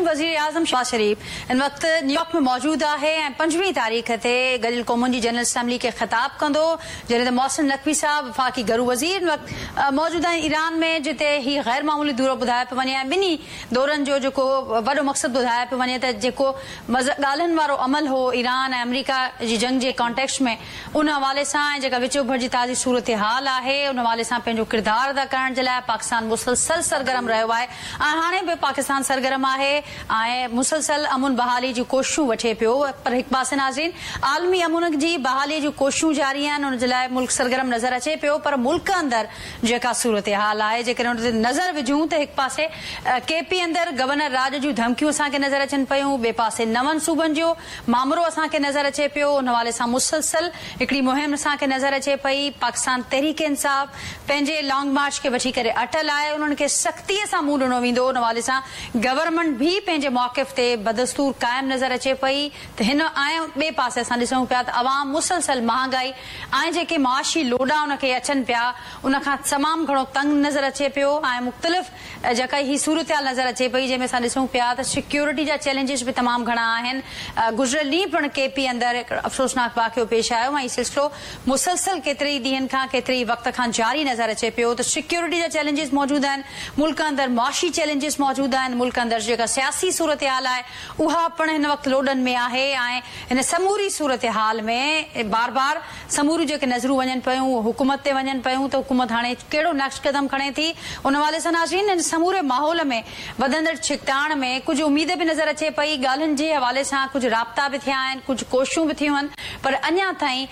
وزيراعظم شهباز شريف هن وقت نيويارڪ ۾ موجود آهي ۽ 25 تاريخ تي گڏيل قومن جي جنرل اسيمبلي کي خطاب ڪندو، جڏهن ته محسن نقوي صاحب وفاقي گهرو وزير هن وقت موجود آهن ايران ۾، جتي هي غير معمولي دورو ٻڌايو پيو وڃي ۽ ٻنهي دورن جو جيڪو وڏو مقصد ٻڌايو پيو وڃي ته جيڪو ڳالهين وارو عمل هو ايران ۽ آمريڪا جي جنگ جي ڪانٽيڪسٽ ۾ ان حوالي سان ۽ جيڪا وچ اوڀر جي تازي صورتحال آهي ان حوالي سان پنهنجو ڪردار ادا ڪرڻ جي لاء پاڪستان مسلسل سرگرم رهيو آهي ۽ هاڻي به پاڪستان سرگرم آهي ۽ مسلسل امن بحالي جون ڪوششون وٺي پيو پر هڪ پاسي ناظرين عالمي امن جي بحالي جون ڪوششون جاري آهن ان جي لاء ملڪ سرگرم نظر اچي پيو پر ملڪ اندر جيڪا صورتحال آهي جيڪڏهن ان تي نظر وجهون ته هڪ پاسي ڪي پي اندر گورنر راڄ جون ڌمڪيون اسان کي نظر اچن پيون ٻئي پاسي نون صوبن جو مامرو اسان کي نظر اچي پيو ان حوالي سان مسلسل هڪڙي مهم اسان کي نظر اچي پئي پاڪستان تحريڪ انصاف پنهنجي لانگ مارچ کي وٺي ڪري اٽل آهي انهن کي سختي سان منهن ڏنو ويندو ان حوالي سان گورنمينٽ به پنهنجي موقف تي بدستور قائم نظر اچي پئي ته هن ۽ ٻئي پاسي اسان ڏسون پيا ته عوام مسلسل مهانگائي ۽ جيڪي معاشي لوڏا ان کي اچن پيا ان کان تمام گهڻو تنگ نظر اچي پيو ۽ مختلف جيڪا هي صورتحال نظر اچي پئي جنهن ۾ اسان ڏسون پيا ته سيڪيورٽي جا چئلينجز به تمام گهڻا آهن. گذريل ڏينهن پڻ ڪي پي اندر هڪ افسوسناڪ واقعو پيش آيو ۽ هي سلسلو مسلسل ڪيتري ئي ڏينهن کان ڪيتري ئي وقت کان جاري نظر اچي پيو ته سيڪيورٽي جا چئلينجز موجود آهن، ملڪ اندر معاشي چئلينجز موجود آهن، ملڪ اندر جيڪا سياسي صورتحال آهي اها پڻ هن وقت لوڏن ۾ آهي ۽ هن سموري صورتحال ۾ بار بار سموريون جيڪي نظرون وڃن پيون اهو حڪومت تي وڃن پيون ته حڪومت هاڻي ڪهڙو نيڪسٽ قدم کڻي ٿي ان حوالي سان ناظرين هن سموري ماحول ۾ وڌندڙ ڇڪتاڻ ۾ ڪجهه اميد به نظر اچي پئي ڳالهين جي حوالي سان ڪجهه رابطا به ٿيا آهن ڪجهه ڪوششون به ٿيون آهن پر اڃا تائين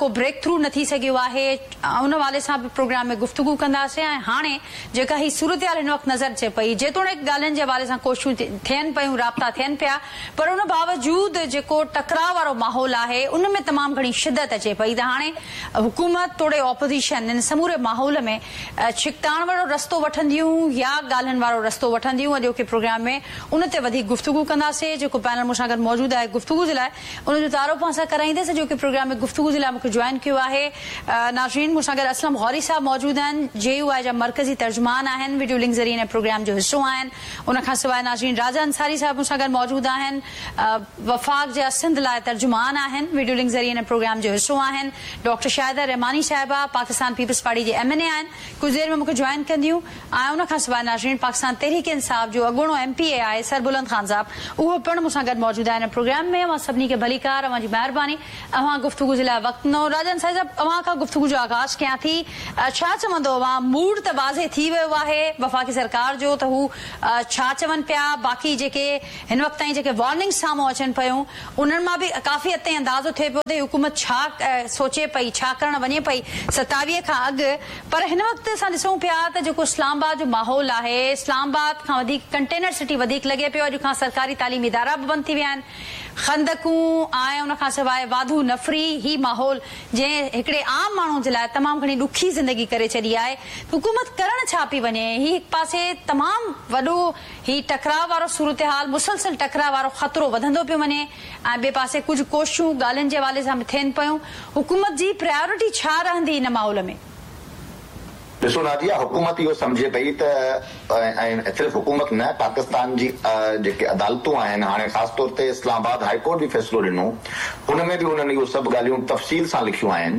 ڪو بريڪ ٿرو نه ٿي سگهيو آهي ان حوالي سان به پروگرام ۾ گفتگو ڪنداسين ۽ هاڻي جيڪا هي صورتحال هن وقت نظر اچي پئي، جيتوڻيڪ ڳالهين جي حوالي سان ڪوششون ٿين پيون، رابطا ٿين پيا، پر ان باوجود جيڪو ٽڪراء وارو ماحول آهي، ان ۾ تمام گهڻي شدت اچي پئي ته هاڻي حڪومت توڙي اپوزيشن ان سموري ماحول ۾ ڇڪتاڻ وارو رستو وٺنديون يا ڳالهين وارو رستو وٺنديون، اڄوڪي پروگرام ۾ ان تي وڌيڪ گفتگو ڪنداسين، جيڪو پينل مون سان گڏ موجود آهي گفتگو جي لاء ان جو تعارف اوهان سان ڪرائيندس، اڄوڪي پروگرام ۾ گفتگو جي لاء مون کي جوائن ڪيو آهي ناظرين مون سان گڏ اسلم غوري صاحب موجود آهن جي يو آء جا مرڪزي ترجمان آهن وڊيو لنڪ ذريعي هن پروگرام جو حصو آهن ان کان سواء ناظرين راجا انصاري صاحب مون سان گڏ موجود آهن وفاق جا سنڌ لاء ترجمان آهن وڊيو لنڪ ذريعي هن پروگرام جو حصو آهن ڊاڪٽر شاهده رحماني صاحبه پاڪستان پيپلز پارٽي جي ايم اين اي آهن ڪجهه دير ۾ مون کي جوائن ڪنديون ۽ ان کان سواء ناظرين پاڪستان تحريڪ انصاف جو اڳوڻو ايم پي اي آهي سربلند خان صاحب اهو پڻ مون سان گڏ موجود آهي هن پروگرام ۾ اوهان سڀني کي ڀليڪار اوهان جي مهرباني اوهان گفتگو جي لاء وقت ڏنو راجا انصاري صاحب اوهان کان گفتگو جو آغاز ڪيان ٿي ڇا چوندو اوهان موڊ ته واضح ٿي ويو آهي وفاقي سرڪار جو ته هو ڇا چون پيا باقي جيڪي هن وقت تائين جيڪي وارننگز سامهون اچن پيون انهن مان به ڪافي حد تائين اندازو ٿئي پيو ته هي حڪومت ڇا سوچي پئي ڇا ڪرڻ وڃي پئي 27 کان اڳ پر هن وقت اسان ڏسون پيا ته جيڪو اسلام آباد جو ماحول آهي اسلام آباد کان وڌيڪ ڪنٽينر سٽي وڌيڪ لڳي پيو اڄ کان سرڪاري تعليمي ادارا به بند ٿي ويا آهن خندقون ۽ ان کان سواء واڌو نفري هي ماحول جنهن هڪڙي عام ماڻهو جي لاء تمام گهڻي ڏکي زندگي ڪري ڇڏي آهي حڪومت ڪرڻ ڇا پئي وڃي هي هڪ پاسي تمام وڏو هي ٽڪراء وارو صورتحال مسلسل ٽڪراء وارو خطرو وڌندو پيو وڃي ۽ ٻئي پاسي ڪجهه ڪوششون ڳالهين جي حوالي سان به ٿين پيون، حڪومت جي پرائرٽي ڇا رهندي ان ماحول ۾؟ ڏسو ناديه، حڪومت اهو سمجهي پئي ته ۽ صرف حڪومت نه پاڪستان جي جيڪي عدالتون آهن هاڻي خاص طور تي اسلام آباد هائي ڪورٽ به فيصلو ڏنو ان ۾ به انهن اهو سڀ ڳالهيون تفصيل سان لکيون آهن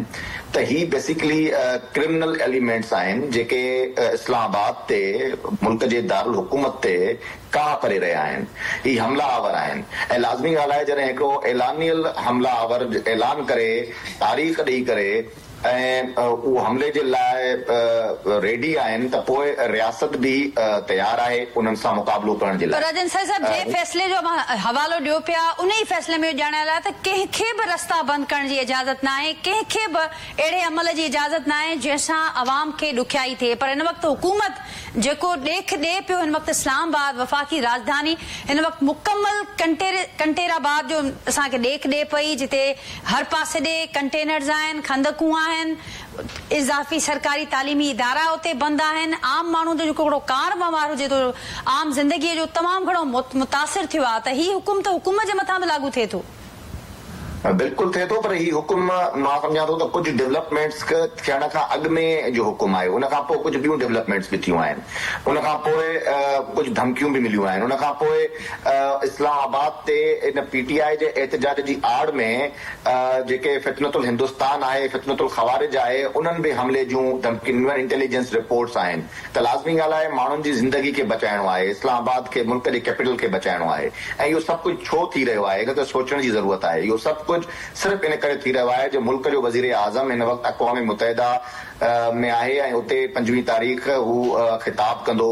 ته هي بيسيڪلي ڪرمنل ايليمينٽس آهن جيڪي اسلام آباد تي ملڪ جي دارالحڪومت تي ڪاهه ڪري رهيا آهن. هي حمله آور آهن ۽ لازمي ڳالهه آهي جڏهن هڪڙو اعلانيل حمله آور اعلان ڪري تاريخ ڏئي ڪري ۽ اهو حملي جي لاء ريڊي آهن ته پوء رياست به تيار آهي انهن سان مقابلو ڪرڻ جي لاء. پر راجن سائين صاحب جنهن فيصلي جو اوهان حوالو ڏيو پيا انهي فيصلي ۾ اهو ڄاڻايل آهي ته ڪنهن کي به رستا بند ڪرڻ جي اجازت ناهي ڪنهن کي به اهڙي عمل جي اجازت ناهي جنهن سان عوام کي ڏکيائي ٿئي پر هن وقت حڪومت جيڪو ڏيک ڏئي پيو هن وقت اسلام آباد وفاقي راڄڌاني هن وقت مڪمل ڪنٽير آباد جو اسان کي ڏيک ڏئي پئي جتي هر پاسي ڏي ڪنٽينرز آهن خندقون آهن اضافي سرڪاري تعليمي ادارا اتي بند آهن عام ماڻهو جو جيڪو هڪڙو ڪار وهنوار هجي ٿو عام زندگي جو تمام گهڻو متاثر ٿيو آهي ته هي حڪم ته حڪومت جي مٿان به لاڳو ٿئي ٿو. بلڪل ٿئي ٿو پر هي حڪم مان سمجهان ٿو ته ڪجهه ڊولپمينٽس ٿيڻ کان اڳ ۾ جو حڪم آهي، ان کان پوء ڪجهه ٻيون ڊولپمينٽس به ٿيون آهن، ان کان پوء ڪجهه ڌمڪيون به مليون آهن، ان کان پوء اسلام آباد تي ان پي ٽي آء جي احتجاج جي آڙ ۾ جيڪي فتنة الهندوستان آهي، فتنة الخوارج آهي، انهن به حملي جون ڌمڪيون ڏنيون آهن، انٽيليجنس رپورٽس آهن ته لازمي ڳالهه آهي ماڻهن جي زندگي کي بچائڻو آهي، اسلام آباد کي ملڪ جي ڪيپيٽل کي بچائڻو آهي ۽ اهو سڀ ڪجهه ڇو ٿي رهيو آهي ان تي سوچڻ جي ضرورت آهي، اهو سڀ ڪجهه صرف ان ڪري ٿي رهيو آهي جو ملڪ جو وزير اعظم هن وقت اقوام متحده ۾ آهي ۽ اتي 25 تاريخ هو خطاب ڪندو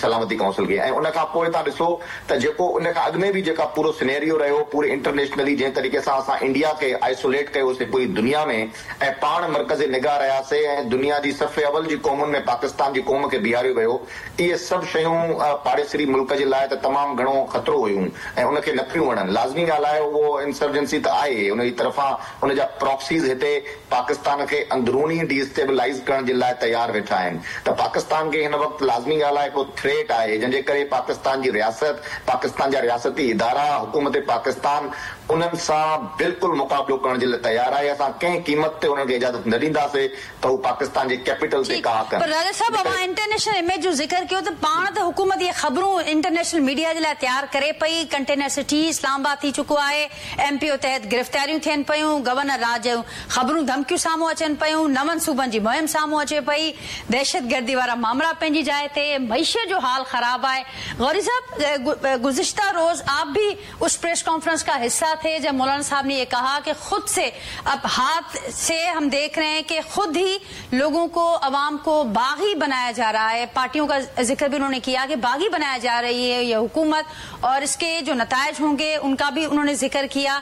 سلامتي ڪائونسل کي ۽ ان کان پوء توهان ڏسو ته جيڪو ان کان اڳ ۾ به جيڪا پورو سنيريو رهيو پوري انٽرنيشنلي جنهن طريقي سان اسان انڊيا کي آئسوليٽ ڪيوسي پوري دنيا ۾ ۽ پاڻ مرڪز نگاهه رهياسي ۽ دنيا جي صف اول جي قومن ۾ پاڪستان جي قوم کي بيهاريو ويو اهي سڀ شيون پاڙيسري ملڪ جي لاء ته تمام گهڻو خطرو هيون ۽ ان کي نه پيون وڻن لازمي ڳالهه آهي اهو انسرجنسي ته آهي ان جي طرفان ان جا پراڪسيز هتي پاڪستان کي اندروني ڊي اسٽيبلائيز ڪرڻ جي لاء تيار ويٺا آهن ته پاڪستان کي هن وقت لازمي ڳالهه آهي هڪڙو ٿريٽ آهي جنهن جي ڪري پاڪستان جي رياست، پاڪستان جا رياستي ادارا، حڪومت پاڪستان انهن سان بلڪل مقابلو ڪرڻ جي لاء تيار آهي اسان ڪنهن قيمت تي انهن کي اجازت نه ڏينداسي ته هو پاڪستان جي ڪيپيٽل تي ٺيڪ ڪاهه ڪن. پر راجا صاحب اوهان انٽرنيشنل اميج جو ذڪر ڪيو ته پاڻ ته حڪومت اهي خبرون انٽرنيشنل ميڊيا جي لاء تيار ڪري پئي ڪنٽينر سٽي اسلام آباد ٿي چڪو آهي ايم پي او تحت گرفتاريون ٿين پيون، گورنر راڄ جون خبرون ڌمڪيون سامهون اچن پيون، نون صوبن جي مهم سامهون اچي پئي، دهشتگردي وارا مامرا پنهنجي جاء تي، معيشت جو حال خراب آهي. غوري صاحب گذشته روز آپ ڀي اس پريس ڪانفرنس کا حصه ٿي جب مولانا صاحب ني يه ڪها ڪه خود سي اب هاتھ سي هم ديک رهي هين ڪه خود هي لوگون ڪو عوام ڪو باغي بنايا جا رها هي پارٽيون کا ذڪر ڀي انهون ني ڪيا ڪه باغي بنايا جا رهي هي يه حڪومت اور اس ڪي جو نتائج هونگي ان کا ڀي انهون ني ذڪر ڪيا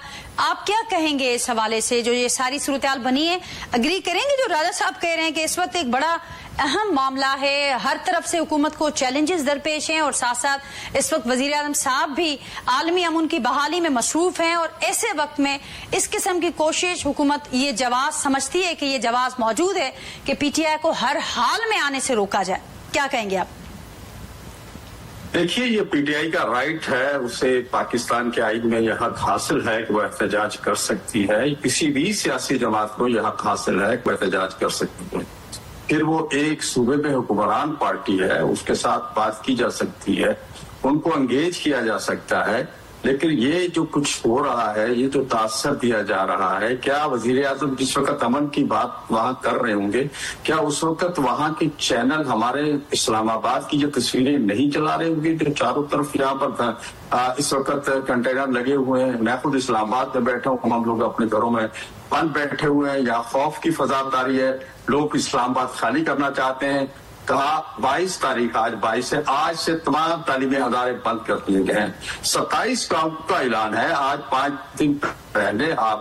آپ ڪيا ڪهين گي اس حوالي سي جو يه ساري صورتحال بني هي اگري ڪرين گي جو راجا صاحب ڪهه رهي هين ڪه اس وقت ايڪ بڙا اهم معامله هي هر طرف سي حڪومت ڪو چيلنجز درپيش هين اور ساٿ ساٿ اس وقت وزير اعظم صاحب ڀي عالمي امن ڪي بحالي مين مصروف هين اور ايسي وقت مين اس قسم ڪي ڪوشش حڪومت يه جواز سمجهتي هي ڪه يه جواز موجود هي ڪه پي ٽي آء ڪو هر حال مين آني سي روڪا جائي ڪيا ڪهين گي آپ؟ देखिए, ये पीटीआई का राइट है, उसे पाकिस्तान के आइन में यह हक हासिल है कि वह एहतजाज कर सकती है। किसी भी सियासी जमात को यह हक हासिल है कि वह एहतजाज कर सकती है। फिर वो एक सूबे में हुक्मरान पार्टी है, उसके साथ बात की जा सकती है, उनको एंगेज किया जा सकता है। लेकिन ये जो कुछ हो रहा है, ये जो तासर दिया जा रहा है, क्या वजीर आजम जिस वक्त अमन की बात वहां कर रहे होंगे, क्या उस वक्त वहां के चैनल हमारे इस्लामाबाद की जो तस्वीरें नहीं चला रहे होंगे जो चारों तरफ यहाँ पर इस वक्त कंटेनर लगे हुए हैं? मैं खुद इस्लामाबाद में बैठा हूँ, हम लोग अपने घरों में बंद बैठे हुए हैं, यहाँ खौफ की फजा तारी है, लोग इस्लामाबाद खाली करना चाहते हैं। कहा 22 तारीख, आज 22 है, आज से तमाम तालीमी अदारे बंद कर दिए गए हैं। 27 का ऐलान है, आज 5 दिन पहले आप